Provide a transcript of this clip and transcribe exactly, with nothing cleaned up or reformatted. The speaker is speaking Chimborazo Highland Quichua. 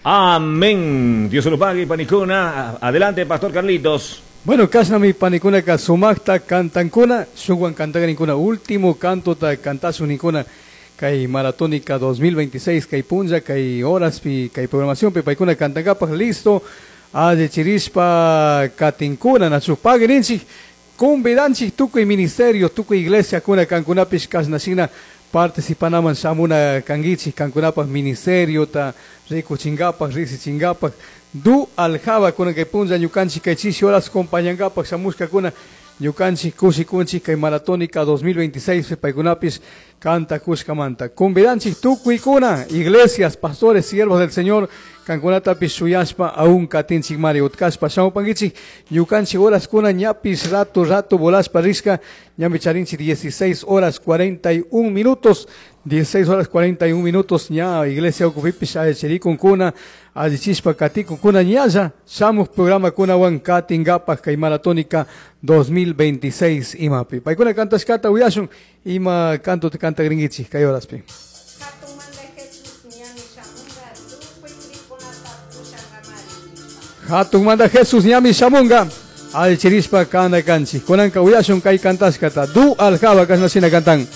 Amén. Dios se lo pague, panicuna. Adelante, Pastor Carlitos. Bueno, kashnami panikunaka sumaqta cantankuna, shukwan cantagrinkuna, último canto ta cantashuninkuna, kay Maratónica dos mil veintiséis, kay punlla, kay horaspi, kay programación, pi paykuna cantankapaj, listo, allichirishpa katinkuna, nachu paguirinchik, convidanchik tukuy ministerio, tukuy iglesia kuna kankunapish kashnashina participanaman shamuna kanguichik, kankunapaj ministerio ta rikuchinkapaj, riksichinkapaj, du aljaba kuna kay punlla ñukanchik kay chishi horas compañankapaj shamushkakuna ñukanchik kushikunchik kay Maratónica dos mil veintiséis paykunapis kantakushkamanta. Convidanchik tukuykuna, iglesias, pastores, siervos del Señor, kankunatapis shuyashpa aún katinchik mari utkashpa shamupankichik ñukanchik horas kuna ñapis rato rato volashpa rishka ñami charinchik dieciséis horas cuarenta y un minutos, dieciséis horas cuarenta y un minutos ña iglesia ukupipis ayachirikunkuna allichishpa katikunkuna ñalla shamuj programa kunawan katinkapak kay Maratónica dos mil veintiséis imapi. Paykuna kantashkata uyashun ima canto te cantagringuichik kay horaspi. Hatun manda Jesús ñami shamunga alchirishpa kana kanchik. Kunanka uyashun kay kantashkata du aljaba kashnashina kantan.